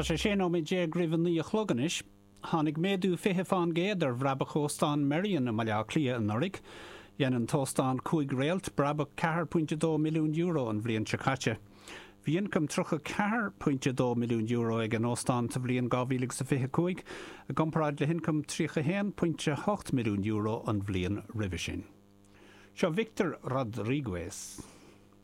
Tá sé 16 nóiméad roimh a 9 a chlog anois. Tháinig méadú 20 fán gcéad ar bhrabach Óstán Merrion i mBaile Átha Cliath anuraidh. Dhein an t-óstán cúig réalt brabach €4.2 milliún an bhliain seo caite. Bhí ioncam €34.2 milliún ag an óstán sa bhliain 2025, i gcomparáid le hioncam €31.8 milliún an bhliain roimhe sin. Seo Victor Rodriguez.